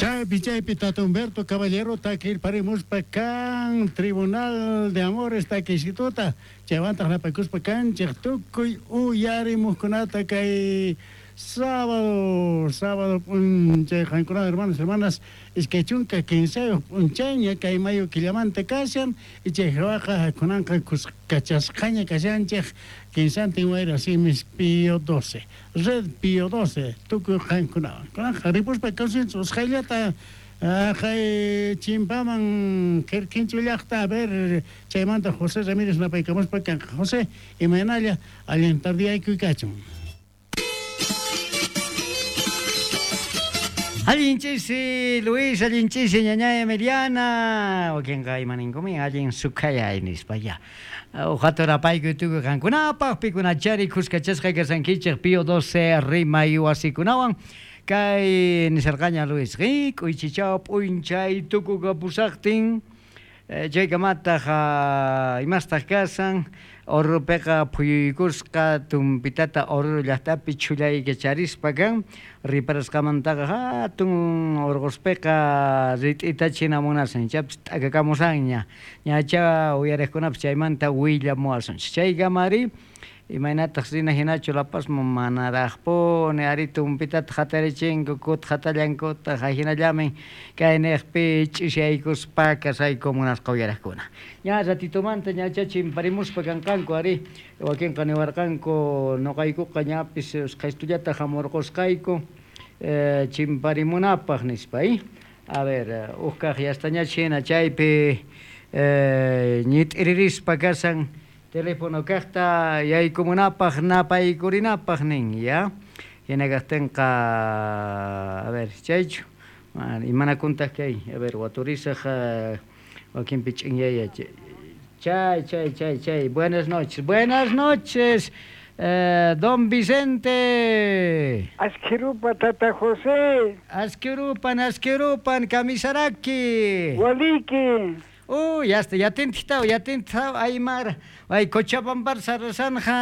Chaypi chaypi Tata Humberto Caballero takirparimuspa kan Tribunal de Amores takisituta chaywantaq napakuspa kanchik tukuy uyarimuqkunata kay sábado sábado p'unchay qankuna hermanos hermanas 23 p'unchayña kay mayo killamanta kashan y chay hawaqa kunanqa kuskachasqaña kashanchik kinsantin wayra simis Pío 12 Red Pío 12 tukuy qankunawan kunanqa ripuspa kawsinchik usqhayllata kay chimpaman Quirquincho llaqta a ver chaymanta José Ramírez napaykamuspa kanqa. José, imaynalla allin tardiyaykuy kachun. Allin ch'isi Luis, allin ch'isi ñañay Emiliana, wakinqa imaninkumin allin sukhayay nispa ya. Uqata rapaykuy tukuy qankunapaq, pikunachari khuskachasqa kashankichej Pío 12 rimay wasikunawan. Kay nisharqaña Luis, k'uychichaw p'unchay tukukapusaqtin, chaykamataq imastaq kashan, Oruropiqa phuyuykusqa tumpitata Oruro llaqtapi chhullaykacharispa kan, riparasqamantaqa hatun urquspiqa rit'ita chinamunashan, ichapis t'akakamushanña, ñachá uyariqkunapis chaymanta willamuwasunchik. Chaykamari imaynataq rina hinachu La Pazman manaraqpuni ari tumpitata hatarichinku kuta hatallankutaq ajinallamin kayniqpi ch'isiyaykuspa kasayku munasqa uyariqkuna. Ña ratitumanta ñachá chimparimuspa kanqanku ari wakinqa niwarqanku noqaykuqa ñapis usqhaystullata hamurqusqayku chimparimunapaq nispa. A ver, uj kaq yastañach hina chaypi ñit'iririspa kashan teléfono kaqta yaykumunapaq napaykurinapaq nin ya. Hina kaqtinqa a ver chaychu imanakuntaq kay a ver waturisaq wakinpi ch'inyaya chay chay chay chay buenas noches buenas noches don Vicente. Ashkirupa tata José. Ashkirupan ashkirupan kamisaraki. Waliki. Uy, hasta yatintitaw yatintitaw Aymara ay Cochabambar sarasanja.